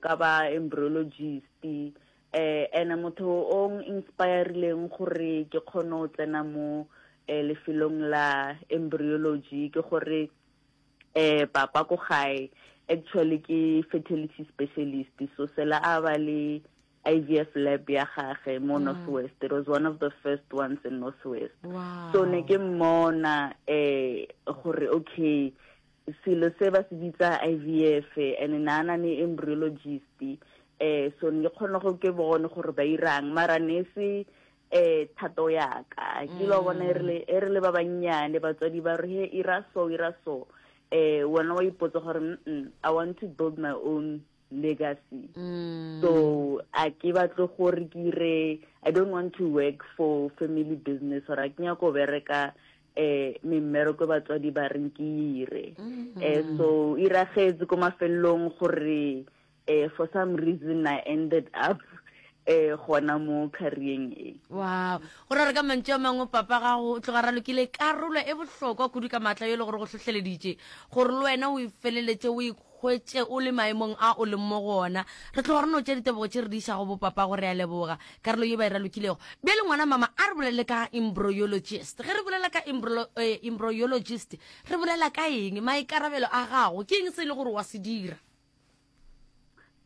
ka ba embryologist eh ene motho o inspirileng gore ke kgone go tsena mo eh, lefelong la embryology ke gore eh papa ko gae actually ke fertility specialist so sela a ba le IVF lab ya gage mo North West. It was one of the first ones in North West. Wow. So ne ke mmona eh gore okay selo se ba se bitsa IVF and na na ne embryologist eh so ne ke kgona go ke bone gore ba irang mara ne se eh thato ya ka ke lo bona e re le e re le ba bannyane batswadi ba re he ira so ira so eh wena wa ipotsa gore mm I want to build my own legacy mm. so a ke batle gore ke ire i don't want to work for family business or a ke nyako bereka eh memmereko batswadi ba reng ke ire mm. eh so iragetse ko mafelelong gore eh for some reason i ended up eh gona mo career e wow go ra re ka mantšu a mangwe papa gago o tloga ralokile karolo e bohlokwa kudu ka maatla yo e le gore go hlohleleditše gore le wena o e feleletše o hwetše o le maemong a o leng mo go ona. Re tloga re no tšea ditebogo tše re di išago bopapa go re a leboga karolo ye ba e ralokilego. Bjale ngwana mama a re bolele ka embryologist. Ge re bolela ka eh, embryologist re bolela ka eng? Maikarabelo a gago ke eng se e le gore wa se dira?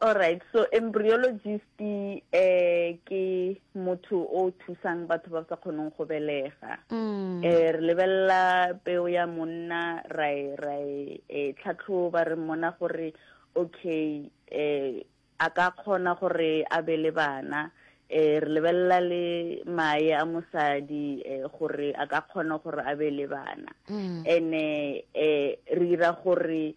Alright, so embryologist eh ke motho o thusang batho ba sa kgoneng go belega. Mm. Eh re lebelela peo ya monna ra e ra e eh, tlhatlhoba re mmona gore okay eh a ka kgona gore a be le bana eh re lebelela le mae a mosadi eh gore a ka kgona gore a be le bana. Mm. Ene eh re dira gore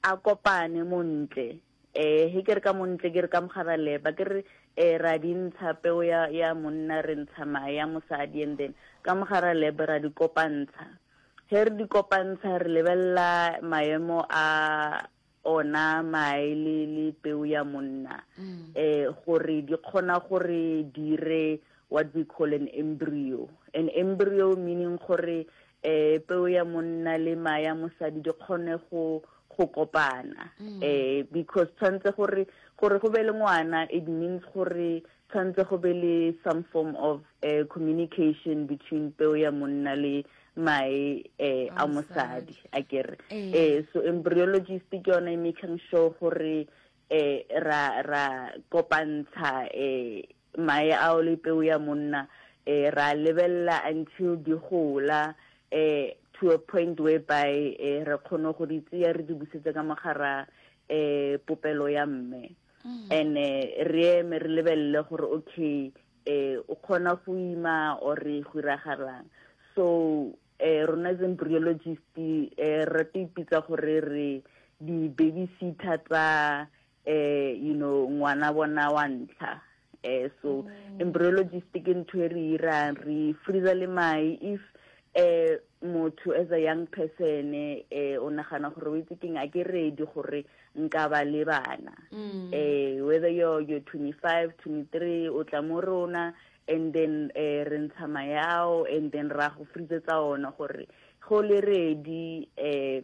a kopane montle eh he ke re ka montle ke re ka mogara leba ke re eh ra di ntsha peo ya ya monna re ntsha mae ya mosadi and then ka mogara leba ra di kopantsha he re di kopantsha re lebelela maemo a ona mae le le peo ya monna mm. eh gore di kgona gore dire what we call an embryo an embryo meaning gore eh peo ya monna le mae ya mosadi di kgone go go kopana mm. eh because tshwanetse gore gore go be le ngwana it means gore tshwanetse go be le some form of uh, communication between peo ya monna le mae eh, a mosadi a kere eh. eh so embryologist ke yone e making sure gore eh ra ra kopantsha eh mae ao le peu ya monna eh ra lebelela until di gola eh to a point whereby eh re kgone go di tseya re di busetse ka mogara eh popelo ya mme mm. and eh, re eme re lebelele gore okay eh o kgona go ima or re go iragalang so eh rona as embryologist eh re te ipitsa gore re di babysitter tsa eh you know ngwana bona wa ntlha eh so mm. embryologist ke ntho e re irang re freezer le mai if eh motho as a young person eh o nagana gore o itse keng a ke ready gore nka ba le bana mm. eh whether you're you're 25 23 o tla mo rona and then eh re ntsha mae ao and then ra go freezetsa ona gore go le ready eh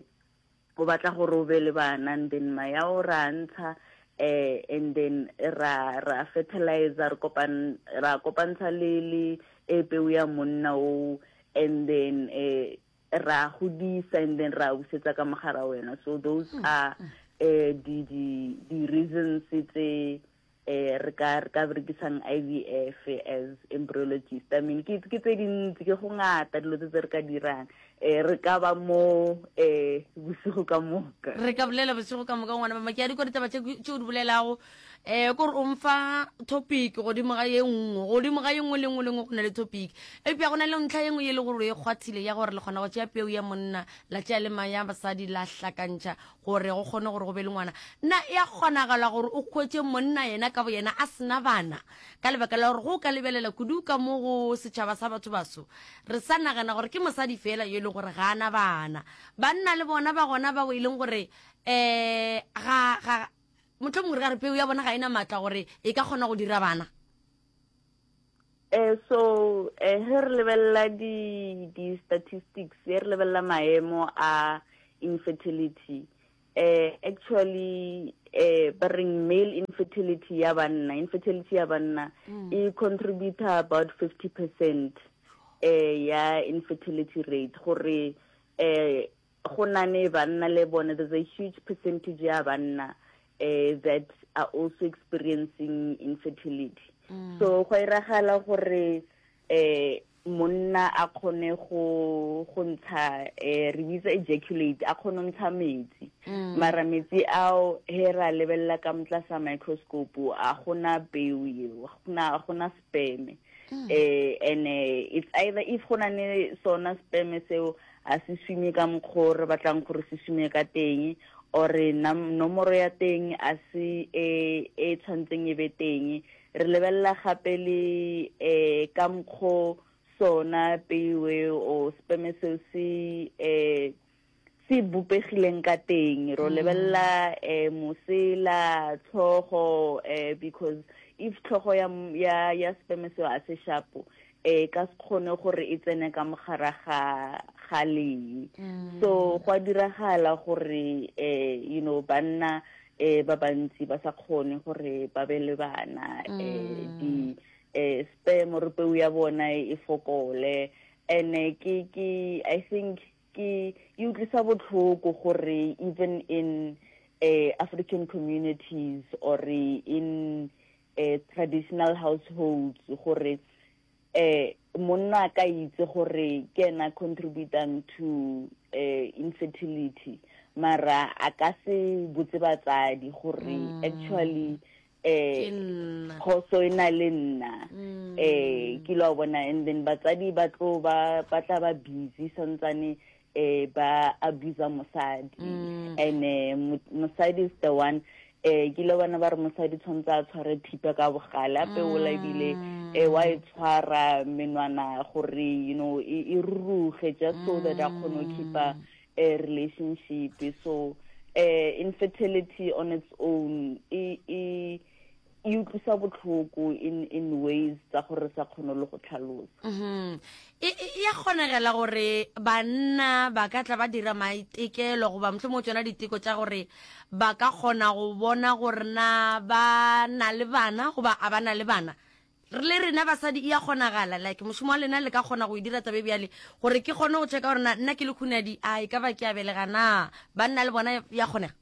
o batla gore o be le bana and then mae ao ra ntsha eh and then ra ra fertilizer re kopan ra kopantsha le le e peu ya monna o and then eh ra godisa and then ra busetsa ka mogara wena so those hmm. are eh di di di reasons tse eh re ka re ka berekisang IVF as embryologist i mean ke ke tse dintsi ke go ngata dilo tse tse re ka dirang eh re ka ba mo eh bosigo ka moka re ka bolela bosigo ka moka ngwana mama ke a di kwa ditaba tše tše o di bolelago eh kore o mfa topic godimo ga ye nngwe godimo ga ye nngwe le nngwe le nngwe go na le topic eupša go na le ntlha ye nngwe ye le gore o e kgwathile ya gore le kgona go tšea peu ya monna la tšea le maya basadi la hlakantšha gore go kgone gore go be le ngwana. Na e a kgonagala gore o hwetše monna yena ka boyena a sena bana? Ka lebaka la gore go ka lebelela kudu ka mo go setšhaba sa batho baso, re sa nagana gore ke mosadi fela yo e leng gore ga a na bana. Banna le bona ba gona bao e leng gore um ga, ga, mohlomongwe re ka re peu ya bona ga e na maatla gore e ka kgona go dira bana. Eh, so eh, ge re lebelela di di statistics ge re lebelela maemo a infertility eh actually eh ba reng male infertility ya banna, infertility ya banna mm. e contribute about 50% eh ya infertility rate gore eh go nane banna le bone there's a huge percentage ya banna eh that are also experiencing infertility mm. so go iragala gore eh monna a kgone go go ntsha eh re bitsa ejaculate a kgone ntsha metsi mm. mara metsi ao he ra lebelela ka motla sa microscope a gona peo eo gona gona sperm mm. eh and eh, it's either if gona ne sona sperm seo a se swime ka mokgwa re batlang gore se swime ka teng or nomoro ya teng a se e e tshwantseng e be teng Re lebelela gape le um ka mokgo sona peo eo or sperm seo se um se bopegileng ka teng. Ro lebelela um mosela, tlhogo um because if tlhogo ya ya ya sperm seo a se shapo e ka se kgone gore e tsene ka mogara ga ga lee. So go a diragala gore eh you know banna eh ba bantsi ba sa kgone gore ba be le bana eh di eh sperm or peu ya bona e fokole and ke ke I think ke e utlwisa botlhoko gore even in eh African communities or in eh traditional households gore eh monna a ka itse gore ke ena contributang to eh infertility mara a ka se botse batsadi gore mm. actually eh khoso e na le nna mm. eh ke lo bona and then batsadi ba tlo ba ba tla ba busy santsane eh ba abuse mosadi mm. and eh, mosadi is the one eh ke ile bona ba re mosadi tshwanetse a tshware thipa ka bogale a peola ebile mm. eh wa e tshwara menwana gore you know e, e ruruge just so that a kgone go keepa mm. a relationship so eh infertility on its own e e e utlwisa botlhoko in in ways tsa gore sa kgone le go tlhalosa mm-hmm. e, e, e ya kgonegela gore banna ba ka tla ba dira maitekelo goba mohlomongwe tsona diteko tša gore ba ka kgona go bona gore na ba na le bana goba a ba na le bana re le rena basadi e ya kgonagala like mošomo wa lena le ka kgona go e dira tabe bjale gore ke kgone go checka gore na nna ke le khunadi a e ka ba ke a belega na banna le bona ya kgonega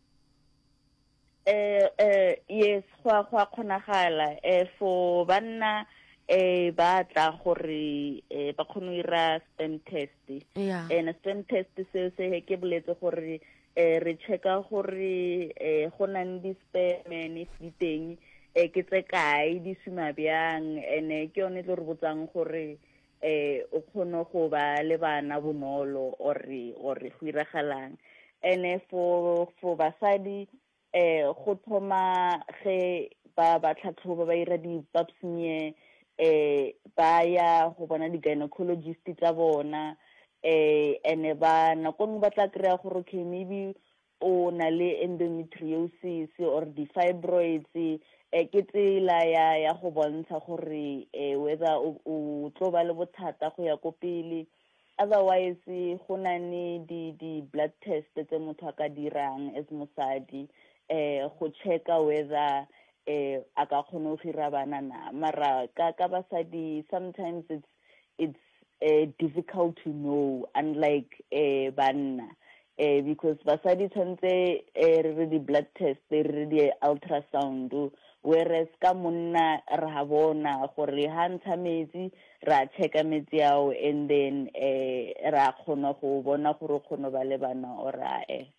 Eh, eh, yes, go a go a kgonagala. Eh, for banna eh ba tla gore eh ba kgone go ira sperm test. Yeah. And sperm test se se ke boletse gore eh re checka gore eh go na le di-sperm and if di teng eh ke tse kae di suma bjang and eh, ke yone e tlo re botsang gore eh o kgone go ba le bana bonolo or or go iragalang ene for for basadi eh go thoma ge ba ba tlhatlhoba ba ira di pap smear eh ba ya go bona di gynecologist tsa bona eh ene ba nako nngwe ba tla kry-a gore okay maybe o na le endometriosis or di-fibroids eh, ke tsela ya ya go bontsha gore eh, whether o, o tlo ba le bothata go ya ko pele otherwise go na le di di blood test tse motho a ka dirang as mosadi eh go checka whether eh a ka kgona go gira bana na mara ka ka basadi sometimes it's it's uh, difficult to know unlike uh, banna uh, because basadi tshwanetse uh, re re di-blood test re re di-ultrasound whereas ka monna re ha bona gore ha ntsha metsi ra checka metsi ao and then eh ra kgona go bona gore o kgona ba le bana or ae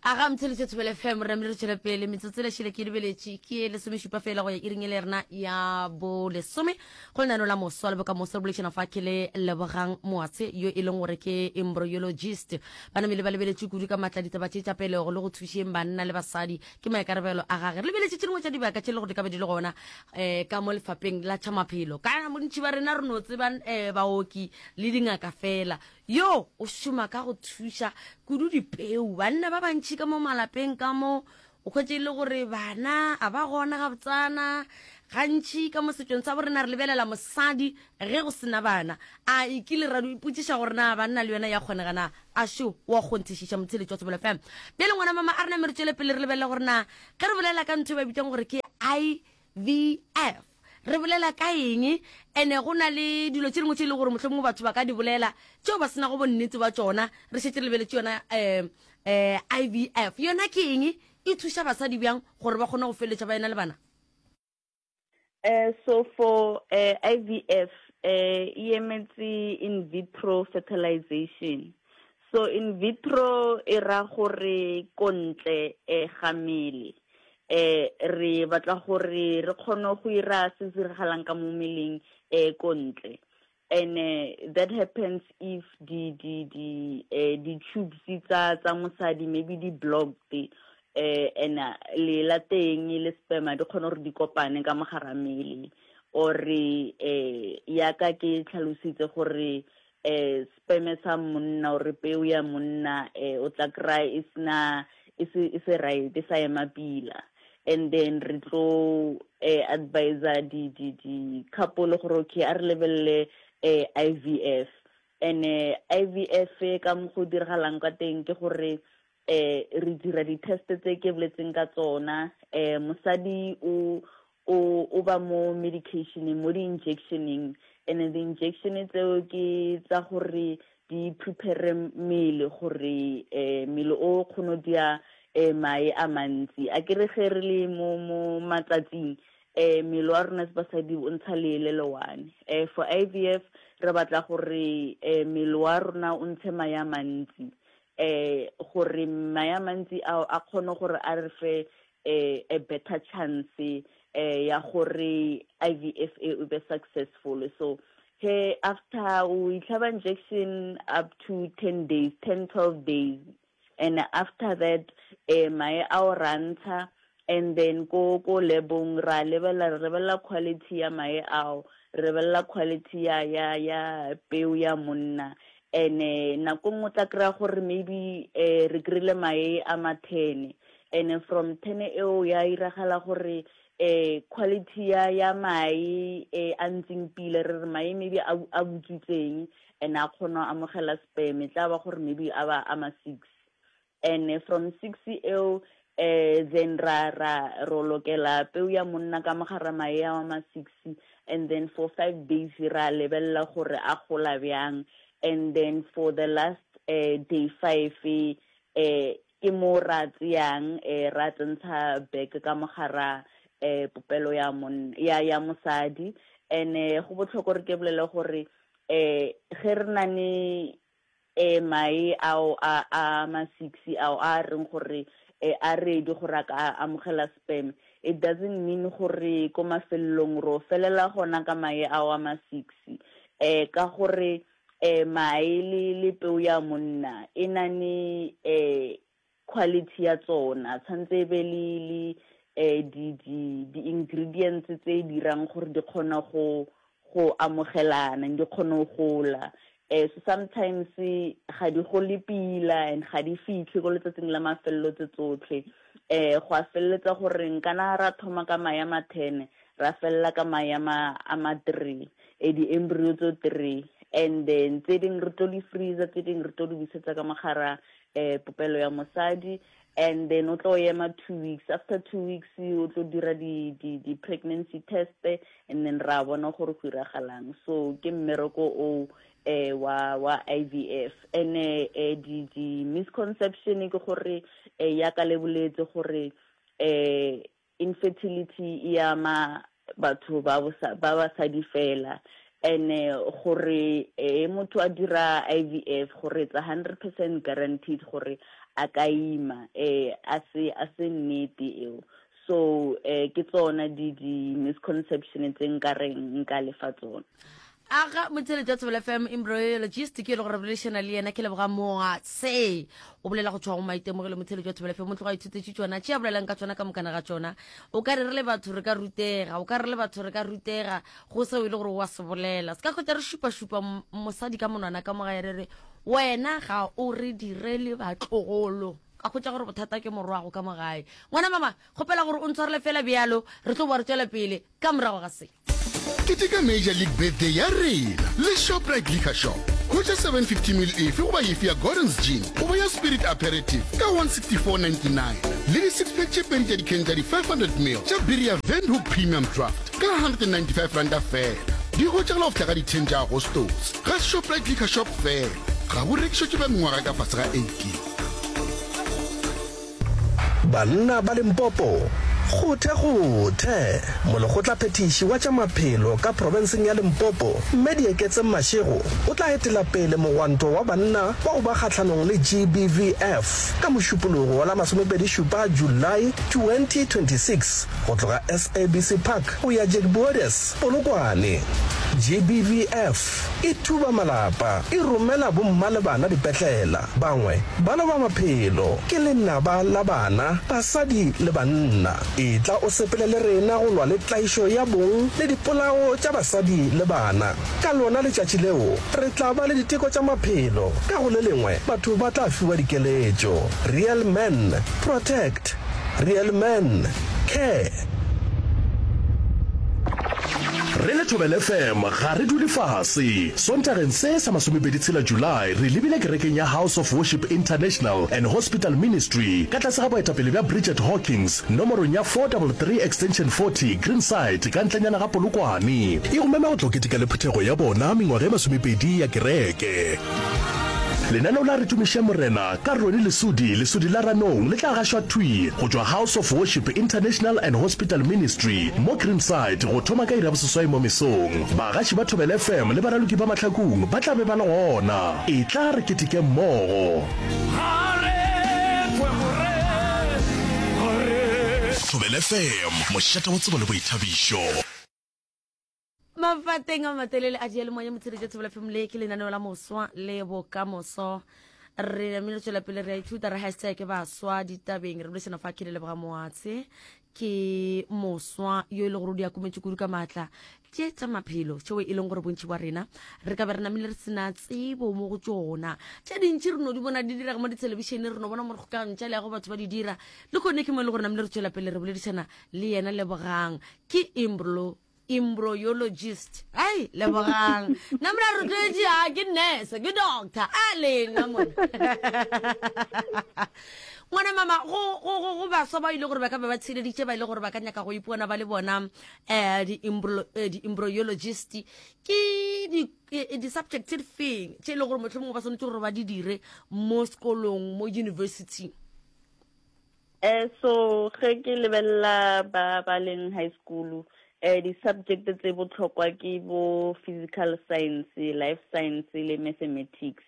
A ga mtheletše Thobela FM re namile re tšwela pele metsotso le šele ke lebeletše ke lesomešupa fela go ya iring e le rena ya bo lesome go lenano la moswa le bokamoso re bolešana fa ke le Lebogang Moatshe yo e leng gore ke embryologist ba namile ba lebeletše kudu ka matla ditaba tše tša pelego le go thušeng banna le basadi ke maikarabelo a gage re lebeletše tše dingwe tša dibaka tše le gore di ka be di le gona um ka mo lefapheng la tša maphelo ka bontši ba rena re no tseba um baoki le dingaka fela Yo o šoma ka go thuša kudu dipeu. Banna ba bantši ka mo malapeng ka mo o hwetše e le gore bana a ba gona gabotsana. Gantši ka mo setšong sa borena re lebelela mosadi ge go sena bana. A e kile ra ipotšiša gore na banna le yona ya kgonega na? A šo wa kgonthišiša motheeletši wa Thobela FM. Bjale ngwana mama a re name re tšwele pele re lebelele gore na ge re bolela ka ntho e ba bitsang gore ke IVF re bolela ka eng ene go na le dilo tše dingwe tše e le gore mohlomongwe batho ba ka di bolela tšeo ba senago bonnete ba tšona re šetše re lebeletše yona um um IVF yona ke eng e thuša basadi bjang gore ba kgone go feleletša ba ena le bana? Uh, so for uh, eh, IVF, uh, eh, e emetse in vitro fertilization. So in vitro e ra gore ko ntle eh, ga mmele. Eh, re batla gore re kgone go ira se se diragalang ka mo mmeleng eh, ko ntle. And uh, that happens if di di di eh, di tubes tsa tsa mosadi maybe di blocked eh and uh, le la teng le sperma di kgone gore di kopane ka mogara mmele or eh ya ka ke tlhalositse gore eh sperm sa monna or peo ya monna eh o tla kry e sena e se e se right e sa ema pila and then re tlo eh, advisor di di di couple gore okay a re lebelele eh, IVF and eh, IVF ka mo go diragalang ka teng ke gore eh re dira di-test tse ke boletseng ka tsona eh mosadi o o o ba mo medicationeng mo di-injectioneng and di-injection tseo ke tsa gore di prepare mmele gore um mmele o kgone dia um mae a mantsi a kere ge re le mo mo matsatsing um mmele wa rona basadi o ntsha lee le le one um for I V F re batla gore um mmele wa rona o ntshe mae a mantsi um gore mae a mantsi ao a kgone gore a re fe eh, a better chance eh, ya gore IVF e o be successful so he after o itlhaba injection up to 10 days 10 12 days and after that eh, mae a o rantsha and then ko ko lebong ra lebelela re lebelela quality ya mae ao re lebelela quality ya ya ya peo ya monna and eh, nako nngwe tla kry-a gore maybe eh, re kry-ile mae a ma ten And from ten eo ya iragala gore eh quality ya ya mae eh a ntseng pila re re mae maybe a a butswitseng and a kgona amogela sperm e tla ba gore maybe a ba a ma six and from six eo eh then ra ra ro lokela peo ya monna ka mogara mae a ma six and then for five days ra lebelela gore a gola bjang and then for the last eh, day five eh Ke mo ra tseyang ra tsentsha bag ka mo gara popelo ya monna ya ya mosadi and go botlhokwa gore ke bolele gore ge re na ne mae ao a a ma six ao a reng gore a ready gore a ka amogela sperm it doesn't mean gore ko mafelelong ro felela gona ka mae ao a ma six ka gore eh mae le le peo ya monna e na ne eh quality ya tsona tshwanetse e be le le eh di di di ingredients tse dirang gore di kgona go go amogelana di kgone go gola eh so sometimes ga di gole pila and ga di fitlhe ko letsatsing la mafelelo tse tsotlhe eh go a feleletsa gore nkana ra thoma ka mae a ma 10 ra felela ka mae a ma a ma 3 e di-embryo tso three and then tse dingwe re tlo di freezer tse dingwe re tlo di busetsa ka mogara um popelo ya mosadi and then o tlo ema two weeks after two weeks o tlo dira di-pregnancy test and then ra bona gore go iragalang so ke mmereko o eh wa wa IVF and eh di di misconception ke gore eh ya ka le boletse gore eh Infertility e ama batho ba ba basadi fela and gore e motho a dira IVF gore it's 100% guaranteed gore a ka ima eh a se a se nnete eo so eh ke tsona di di misconception tse nka reng nka lefa tsona. Aga motheletši wa Thobela FM embryologist ke e le gore boledišana le yena ke leboga moatse o bolela go tšwa go maitemogelo motheletši wa Thobela FM o tloga ithutetše tšona tše a bolelang ka tšona ka mokana ga tšona o ka re re le batho re ka rutega o ka re le batho re ka rutega go seo e le gore wa se bolela se ka kgotsa re šupašupa mosadi ka monwana ka mogae re re wena ga o re direle batlogolo. Ka hwetša gore bothata ke morwago ka mo gae. Ngwana mama, kgopela gore o ntshwarele fela bjalo, re tlo boa re tšwela pele ka morago ga se. Keteka Major League Birthday ya rena le Shoprite Liquor Shop. Hwetša 750 ml efe goba efe ya Gordon's Gin goba ya Spirit Aperitif ka 164.99 le di-six pack tše pedi tša dikheng tša di-500 ml tša biri ya Windhoek Premium Draft ka R195 feela. Di hwetšagala go fihla ka di-10 tša Agostose ga Shoprite Liquor Shop feela. Ga bo rekišetšwe ba mengwaga ka fase ga 18. Banna ba Limpopo, Kgothe kgothe! Molekgotlaphethiši wa tša maphelo ka profenseng ya Limpopo, Mme Dieketseng Mashego, o tla etela pele mogwanto wa banna wa go ba kgahlanong le GBVF ka Mošupologo wa la masomepedi-šupa Julae 2026 go tloga SABC Park go ya Jacques Polokwane. GBVF. E thuba malapa, e romela bomma le bana dipetlela. Bangwe ba loba maphelo. Ke lenaba la bana, basadi le banna. Etla o sepele le rena go lwa le tlaišo ya bong le dipolao tša basadi le bana. Ka lona letšatši leo, re tla ba le diteko tša maphelo. Ka go le lengwe, batho ba tla fiwa dikeletšo. Real men protect. Real men care. Re le Thobela FM ga re dule fase. Sontageng se sa masomepedi tshela July re lebile kerekeng ya House of Worship International and Hospital Ministry ka tlase ga boetapele bja Bridget Hawkins nomorong ya 433 Extension 40 Greenside ka ntlenyana ga Polokwane. E go mema go tlo keteka le phuthego ya bona mengwaga e masomepedi ya kereke. Lenaneo la Re Tumiše Morena ka Ronnie Lesudi, Lesudi la Ranong, le tla gašwa thwi go tšwa House of Worship International and Hospital Ministry mo Greenside go thoma ka iri ya boseswai mo mesong. Bagaši ba Thobela FM le baraloki ba Mahlakung ba tla be ba le gona. Etla re keteke mmogo. Thobela FM, mošate wa tsebo le boithabišo. Mafateng a matelele a diyalemoya motsheletša Thobela FM le ke lenaneo la moswa le bokamoso. Re namile tšwela pele re a ithuta re hashtag baswa ditabeng re bolešana fa ke le leboga moatshe ke moswa yo e le gore o di akometše kudu ka maatla tše tša maphelo tšeo e leng gore bontši bwa rena re ka be re namile re sena tsebo mo go tšona tše dintši re no di bona di direga mo dithelebišene re no bona mo re kgokagano tša leago batho ba di dira le kgone ke mo e le gore namile re tšwela pele re boledišana le yena lebogang ke imbro embryologist ai lebogang nna mona rotloetše a ke nurse ke doctor a lena mona ngwana mama go go go go baswa ba ile gore ba ka ba ba tshileditše ba ile gore ba ka nyaka go ipona ba le bona um di-embryologist ke di-subject tse di feng tše e le gore mohlomongwe ba swanetše gore ba di dire mo sekolong mo university? Eh so ge ke lebelela ba ba leng high school eh di-subject tse botlhokwa ke bo physical science, life science le mathematics.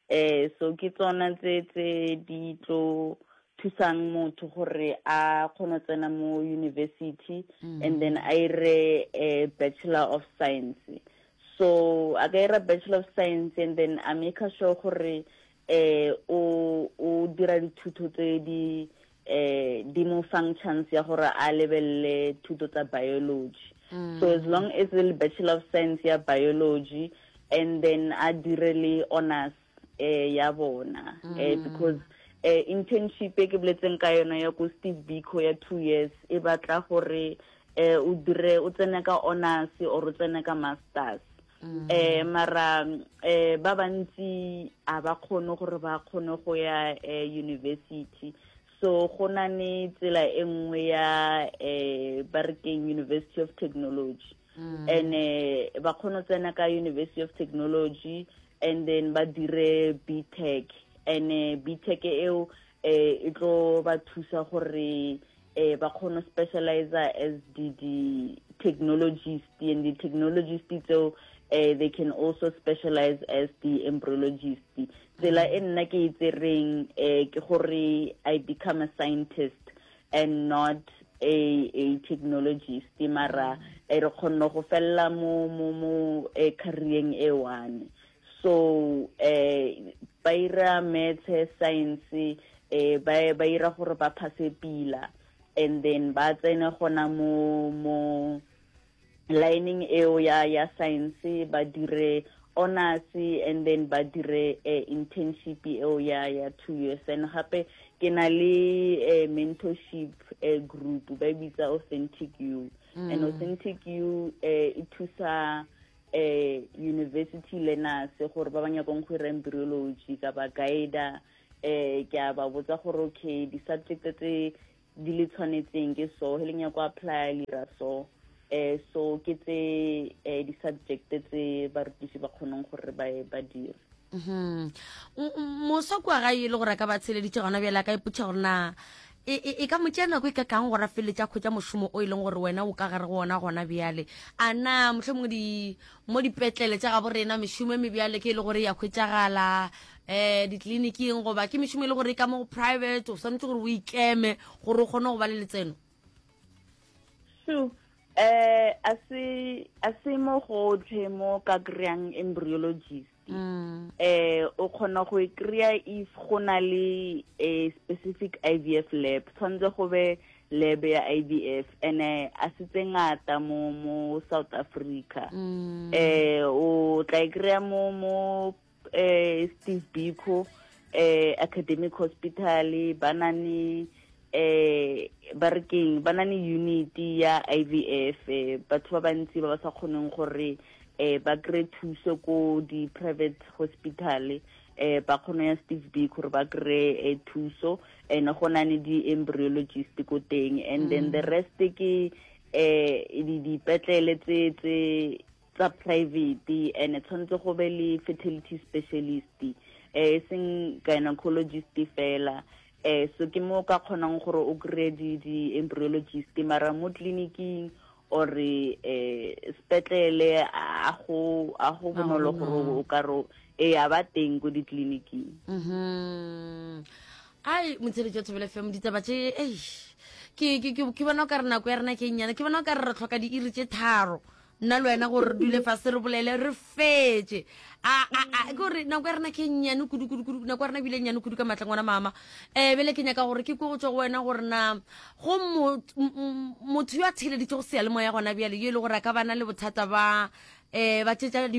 Eh so ke tsona tse tse di tlo thusang motho gore a kgone go tsena mo university mm. and then a ire eh, bachelor of science. So a ka ira bachelor of science and then a make sure gore eh o o dira dithuto tse di eh di mo fang chance ya gore a lebelele thuto tsa biology mm. so as long as le bachelor of science ya biology and then a dire le honors eh ya bona mm. eh because eh internship e ke boletseng ka yona ya ko Steve Biko ya 2 years e batla gore eh o dire o tsene ka honors or o tsene ka masters mm. eh mara eh ba bantsi a ba kgone gore ba kgone go ya eh, university so go na ne tsela e nngwe ya eh ba re keng University of Technology mm. and eh, ba kgone tsena ka University of Technology and then ba dire BTech and eh, BTech eo eh e tlo ba thusa gore eh ba kgone specialize as the the technologist and the technologist tseo eh they can also specialize as the embryologist tsela e nna ke e tsereng eh ke gore i become a scientist and not a a technologist mara e re kgonne go fella mo mo mo eh, career e one so eh ba ira maths science eh ba ba ira gore ba phase pila and then ba tsene gona mo mo lining eo ya ya science ba dire honors and then ba dire eh, internship eo ya ya two years and gape Ke na le eh, mentorship eh, group ba e bitsa Authentic You. And Authentic You eh, e thusa eh university learners gore ba ba nyakong go ira embryology ka ba guida eh ke a ba botsa gore okay di-subject tse di le tshwanetseng ke so he le nyako apply le ira so eh so ke tse eh di-subject tse barutiši ba kgoneng gore ba ba dire. Moswa kua gae e le gore a ka ba tsheleditše gona bjale a ka ipotša gore na e, e, e ka mo tšea nako e ka kang gore a feleletše a khwetša mošomo o e leng gore wena o ka gare go ona gona bjale. A na mohlomongwe di mo dipetlele tša gabo rena mešomo e mebjale ke e le gore ya hwetšagala um ditleliniking goba ke mešomo e le gore e ka mo go private o swanetše gore o ikeme gore o kgone go ba le letseno? Sure. Eh a se a se mo gotlhe mo ka kry-ang embryologist. Eh o kgona go e kry-a if go na le a specific IVF lab. Tshwanetse go be lab ya IVF and eh, a se tse ngata mo mo South Africa. Eh o tla e kry-a mo mo eh Steve Biko eh Academic Hospital ba na ne eh ba re keng ba na ne unit ya IVF eh, batho ba bantsi ba ba sa kgoneng gore eh ba kry thuso ko di private hospital eh ba kgone ya Steve Biko gore ba kry eh, thuso and go na ne di embryologist ko teng and then the rest ke eh di dipetlele tse tse tsa private and tshwanetse go be le fertility specialist eh e seng gynecologist fela eh so ke mo ka kgonang gore o kry di di embryologist mara mo tleliniking or eh sepetlele a go a go bonolo gore o ka ro e a ba teng ko ditleliniking. Ai motsheletso Thobela FM ditaba tše eish ke ke ke bona o ka re nako ya rena ke e nnyane ke bona o ka re re tlhoka diiri tše tharo nna le wena gore re dule fase re bolele re fetše a a a ke gore nako ya rena ke e nnyane kudu kudu kudu nako ya rena ebile e nnyane kudu ka maatla ngwana mama um bele ke nyaka gore ke kwe go tswa go wena gore na go motho yo a theeleditše go seyalemoya gona bjale yo e le gore a ka bana le bothata ba um ba tšetša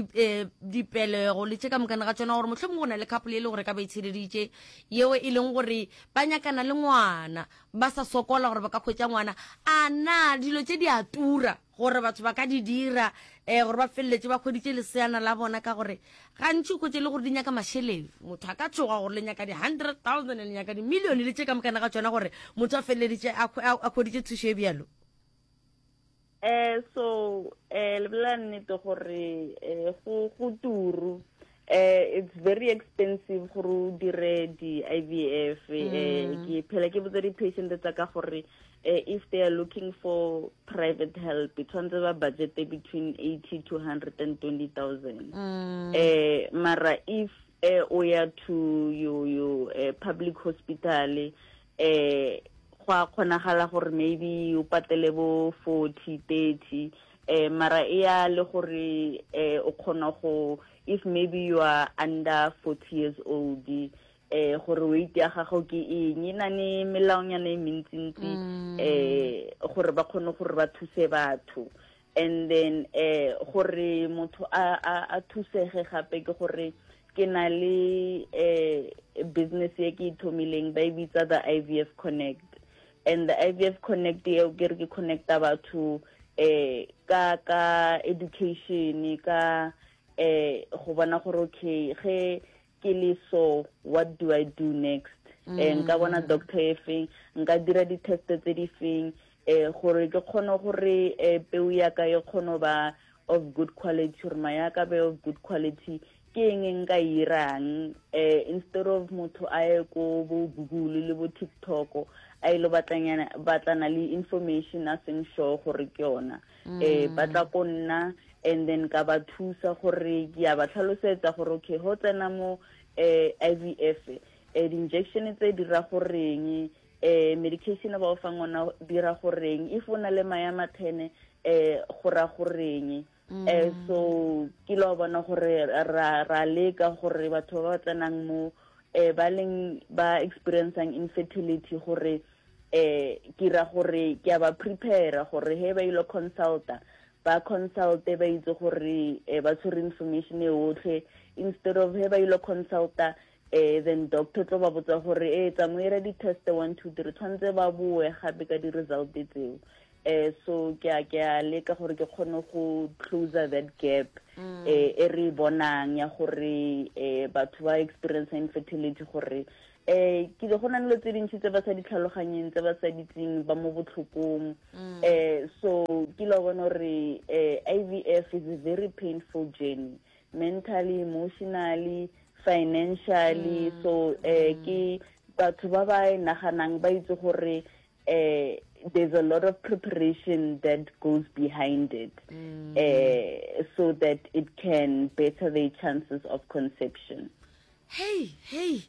dipelego le tše ka mokana ga tsona gore mohlomongwe go na le couple e le gore ka ba itsheleditše yeo e leng gore ba nyakana le ngwana ba sa sokola gore ba ka hwetša ngwana a na dilo tše di a tura gore batho ba ka di dira um gore ba feleletše ba hweditše leseana la bona ka gore gantši o hwetše le gore di nyaka mašeleng motho a ka tšhoga gore le nyaka di-hundred thousand le nyaka di-million le tše ka mokana ga tšona gore motho a feleleditše a hweditše thušo e bjalo. Eh so eh le bolela nnete gore eh go go turu eh it's very expensive gore o dire di-IVF eh mm. ke phela ke botsa di-patient tsa ka gore eh, if they are looking for private help tshwanetse ba budget between 80 to 120,000 mm. eh mara if eh o ya to you you eh, public hospital eh go a kgonagala gore maybe o patele bo 40 30 eh mara e ya le gore eh o kgona go if maybe you are under 40 years old eh gore weight ya gago ke eng e na ne melaonyana e mentsintsi mm. eh gore ba kgone gore ba thuse batho and then eh gore motho a a a thusege gape ke gore ke na le eh business e ke ithomileng ba e bitsa the IVF Connect and the IVF Connect eo ke re ke connecta batho eh ka ka education ka eh go bona gore okay ge ke le so what do I do next mm. eh nka bona doctor e feng nka dira di-test tse di feng eh gore ke kgone gore eh, peu ya ka e kgone ba of good quality gore maya ka be of good quality ke eng e nka irang eh instead of motho a ye ko bo Google le bo TikTok a ile batlanyana batlana le information a seng sure gore ke yona eh ba tla ko nna and then ka ba thusa gore ke ya ba tlhalosetsa gore okay ho tsena mo eh IVF eh di-injection tse di ra goreng eh medication ba o fang ona dira goreng if o na le maya mathene eh go ra goreng eh so ke lo bona gore ra ra leka gore batho ba ba tsenang mo eh ba leng ba experiencing infertility gore eh ke ra gore ke a ba prepare gore he ba ile consulta ba consulte ba itse gore eh, ba tshwere information e otlhe instead of he ba ile consulta. Eh then doctor tlo ba botsa gore e tsa mo ira di-test 1 2 3 tshwanetse ba boe gape ka di-result tseo. Eh so ke a ke a leka gore ke kgone go close that gap eh e re bonang ya gore eh batho ba experience infertility gore eh ke go na le tse dintsi tse ba sa di tlhaloganyeng tse ba sa di tseng ba mo botlhokong eh so ke lo bona gore eh IVF is a very painful journey mentally emotionally financially mm. so eh mm. ke batho ba ba e naganang ba itse gore eh there's a lot of preparation that goes behind it mm. eh so that it can better their chances of conception Hei, hei,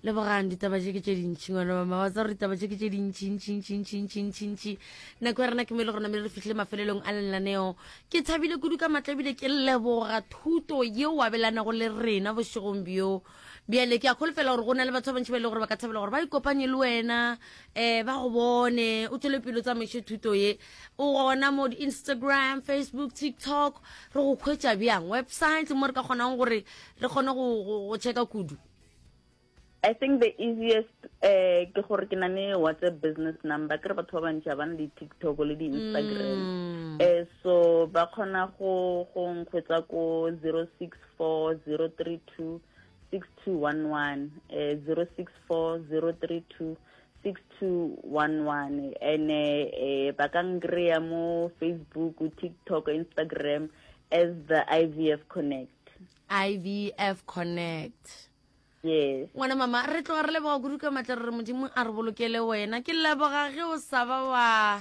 lebogang ditaba tše ke tše dintši ngwana mama wa tsa gore ditaba tše ke tše dintši ntši ntši ntši ntši ntši ntši nako ya rena ke mo e le gore namele re fihlile mafelelong a lenaneo ke thabile kudu ka matla ebile ke leboga thuto yeo abelanago le rena bošegong bjo bjale ke a kholofela gore go na le batho ba bantši ba e le gore ba ka thabela gore ba ikopanye le wena um ba go bone o tswele pele o tsamaiše thuto ye o gona mo di-instagram facebook tiktok re go khwetša bjang website mo re ka kgonang gore re kgone go go checka kudu I think the easiest eh ke gore ke na le WhatsApp business number ke re batho ba bantši ba na le TikTok le di Instagram mm. eh so ba kgona go go nkgwetsa ko 064032 6211 eh 064032 6211 ene eh ba ka nkreya mo Facebook TikTok Instagram as the IVF Connect IVF Connect. Yes. Ngwana mama, re tloga re leboga kudu ka matla re re Modimo a re bolokele wena. Ke leboga ge o sa ba wa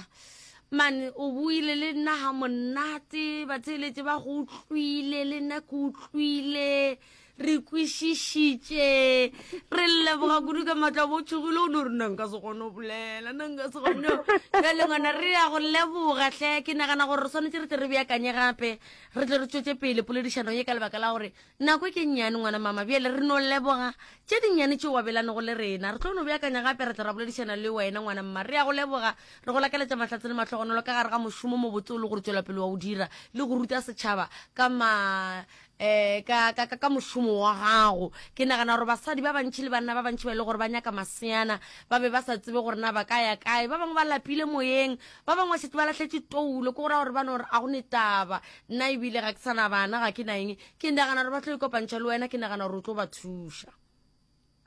mane o buile le nna ga monate batheeletše ba go utlwile le nna ke utlwile re kwešišitše re leboga kudu ka matla bo tšhogile o no re nna nka se kgone go bolela nna nka se kgone bjale ngwana re ya go leboga hle ke nagana gore re swanetše re tle re beakanye gape Re tle re tšwetše pele poledišano ye ka lebaka la gore nako e ke nnyane, ngwana mama. Bjale re no leboga tše dinnyane tše o abelanego le rena. Re tlo no beakanya gape ra tla ra boledišana le wena, ngwana mma. Re a go leboga, re go lakaletša mahlatse le mahlogonolo ka gare ga mošomo mo botse o le gore tšwela pele wa o dira le go ruta setšhaba ka ma eh ka ka ka mošomo wa gago. Ke nagana gore basadi ba bantši le banna ba bantši ba e le gore ba nyaka maseana ba be ba sa tsebe gore na ba ka ya kae. Ba bangwe ba lapile moyeng, Ba bangwe ba šetše ba lahletše toulo, ke go ra gore ba no re a go ne taba, nna ebile ga ke sa na bana, ga ke na eng. Ke nagana gore ba tlo ikopantšha le wena, ke nagana gore o tlo ba thuša.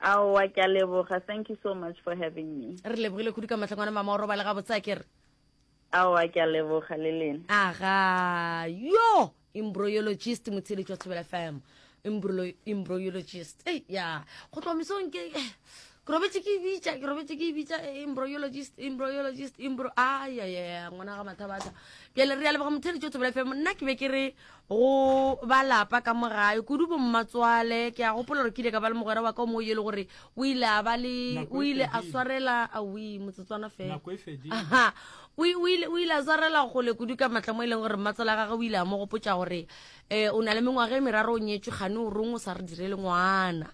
Aowa, ke a leboga. Thank you so much for having me. Re lebogile kudu ka mahlo ngwana mama, o robale gabotse a ke re. Aowa, ke a leboga le lena. Aga, yo! Embryologist motheeletši wa Thobela FM. Embryolo, embryologist. Ei, ya. Go tloga mesong ke eh, ke robetše ke e bitša, ke robetše ke e bitša eh, embryologist, embryologist, embro ai ai ai ngwana ga mathabatha. Bjale re a leboga motheeletši wa Thobela FM. Nna ke be ke re go ba lapa ka mo gae kudu bo mmatswale ke a gopola gore ke ile ka ba le mogwera wa ka o mongwe yo e le gore o ile a ba le Nako o e ile a fedile. swarela awi motsotswana fela Nako e fedile. Aha. O o ile o ile a swarela kgole kudu ka matla mo e leng gore mmatswala gagwe o ile a mo gopotša gore um o na le mengwaga e meraro o nyetšwe kgane o rong o sa re direle ngwana.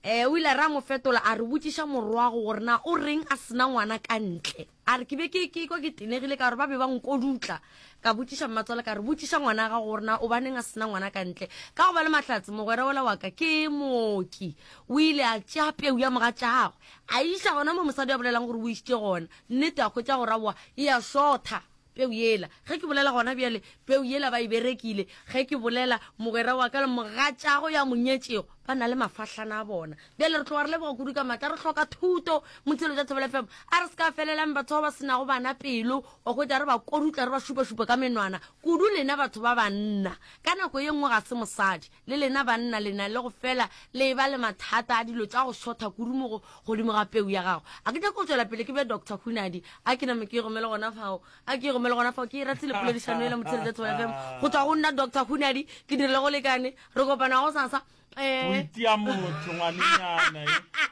Um o ile a re a mo fetola a re botšiša morwago gore na o reng a sena ngwana ka ntle. A re ke be ke ke kwa ke tenegile ka gore ba be ba nkodutla. Ka botšiša mmatswala ka re botšiša ngwana gago gore na o baneng a sena ngwana ka ntle. Ka go ba le mahlatse mogwera wola wa ka ke mooki o ile a tšea peu ya mogatšagwe a iša gona mo mosadi a bolelang gore o išitše gona. Nnete a hwetša gore aowa e a šotha peu yela. Ge ke bolela gona bjale peu yela ba e berekile. Ge ke bolela mogwera wa ka le mogatšago ya mo nyetšego ba na le mafahlana a bona. Bjale re tloga re leboga kudu ka matla re hloka thuto Motshelo tša Thobela FM. A re se ka felelang batho ba ba se nago bana pelo wa hwetša re ba kodutla re ba šupašupa ka menwana kudu lena batho ba banna. Ka nako ye nngwe ga se mosadi Le lena banna le na le go fela le eba le mathata a dilo tša go šotha kudu mo go godimo ga peu ya gago. A ke nyake go tšwela pele ke be Doctor Hunadi. A ke name ke e gomele gona fao. A ke e gomele gona fao. Ke e ratile poledišano yela Motheeletša Thobela FM. Go tšwa go nna Doctor Hunadi, ke dirile go lekane. Re kopana gosasa. O Eh. itia motho ngwanenyana e.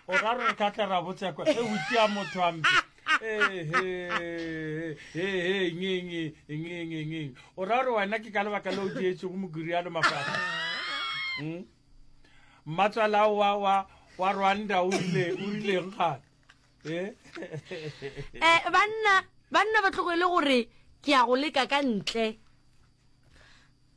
O ra re re ka tla ra botša kwa. E o itia motho hampe. Ehe, he, he, ngeng, ngeng, ngeng. O ra gore wena ke ka lebaka le o dietšego mokiriano mafahla? Hmm? Mmatswala wa, wa, wa Rwanda o rile, o rileng gane? Eh? Eh, banna, banna ba tlogele gore ke ya go leka ka ntle.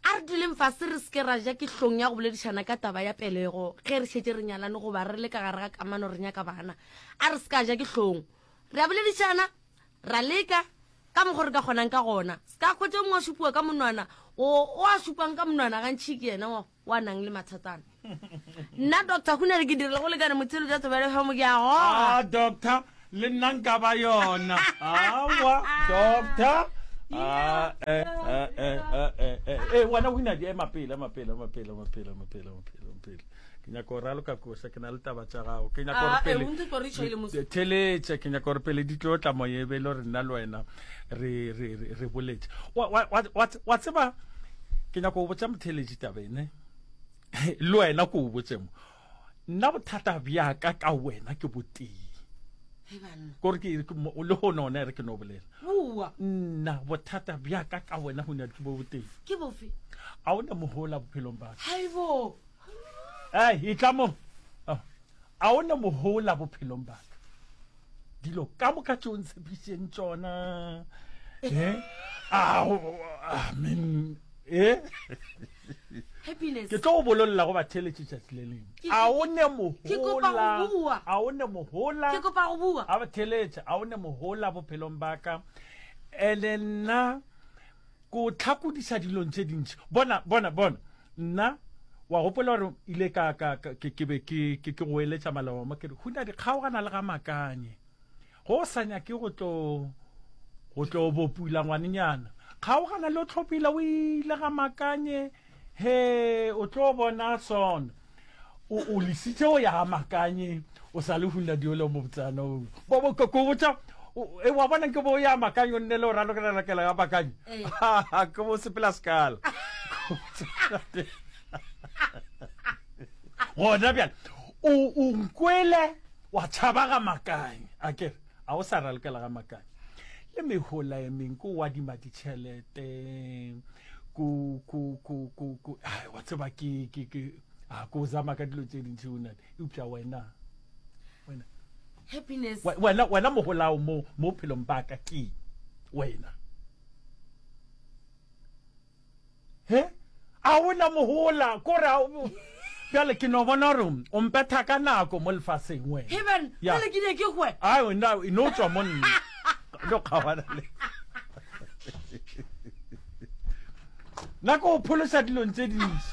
A re duleng fase re se ke ra ja ke hlong ya go boledišana ka taba ya pelego ge re šetše re nyalane goba re le ka gare ga kamano re nyaka bana. A re se ka ja ke hlong. Re a boledišana, ra leka ka mokgo re ka kgonang ka gona. Se ka hwetša o mongwe a šupiwa ka monwana, o o a šupang ka monwana gantši ke yena wa wa nang le mathatana. Nna Doctor Hunadi ke dirile go lekane motheeletši wa Thobela FM ke a goga. Ah, doctor, le nna nka ba yona. Awa, doctor. Ah, eh, eh, eh, eh, eh, eh. Eh, wena Hunadi, ema pele, ema pele, ema pele, ema pele, ema pele, ema pele, ema pele. Ke nyaka go raloka koša, ke na le taba tša gago. Ke nyaka gore Ah, eh, pele o ntse tlo re tšhaile mos. theletše, ke nyaka gore pele di tlo tla moya e be e le gore nna le wena re re re re boletše. Wa wa wa wa wa tseba ke nyaka go botša motheletši taba ene. Le wena ko o botse mo. Nna bothata bja ka ka wena ke botee. Hei banna. Kore ke ke mo- le gone one re ke no bolela. Bua. Nna bothata bja ka ka wena go ke bo botee. Ke bofe? A o na mohola bophelong ba ka. Haibo. Ei, e tla mo. Ah, A o na mohola bophelong ba ka. Dilo ka moka tšeo ntshepišeng tšona. Eh? Ah, amen. Eh? Happiness. Ke tlo go bololla go batheeletši tšatši le lengwe. Ke- A o ne Ke kopa mohola. go bua. A o ne mohola. Ke kopa go bua. A batheeletša, a o ne mohola bophelong ba ka. Ene nna ko tlhakodiša dilong tše dintši. Bona, bona, bona. Nna wa gopola gore ile ka ka ka- ke ke be ke ke ke go eletša maloba mo ke re huna di kgaogana le ga makanye. Go o sa nyake go tlo go tlo bopula ngwanenyana. Kgaogana le o tlhophile o ile ga makanye he o tlo bona sona. O o lesitše o ya ga makanye o sa le huna diolo mo botsana o. Bo bo ko botša e wa bona ke bo ya makanye o nne le o ralokela rakela ga makanye. Ee. Ke bo sepela sekala. Gona bjale o o nkwele Wa tšhaba ga makanye, a ke re, a o sa ralokela ga makanye. Le mehola e meng, ko o adima ditšhelete, ko, ko, ko, ko, ko, ai, wa tseba ke, ke, ke, a ko zama ka dilo tše dintši o nale. Eupša wena, wena, Happiness. wena, wena moholao mo, mo bophelong ba ka ke wena. He? A o na mohola, kore a o... Bjale ke no bona gore o mpetha ka nako mo lefaseng wena. Heaven, Ya. bjale ke ne ke hwe. Ai, wena e no tswa mo nna. No kgaogana le. Nna ke go phološa dilong tše dintši.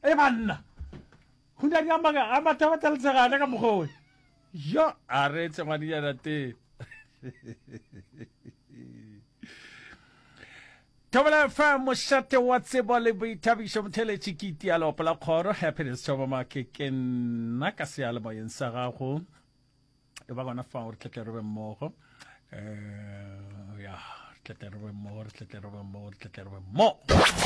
E banna. Go na di a maka a matha letshegana ka mokgwa Yo, a re etse ngwanenyana tee. Thobela FM mošate wa tsebo le boithabišo motheletši ke itia leopo la kgoro happiness thobamake ke nna ka seyalemoyeng sa gago e ba gona fao re tletle re be mmogo um ya re tletle re be mmogo re tletle re be mmogo re tletle re be mmogo.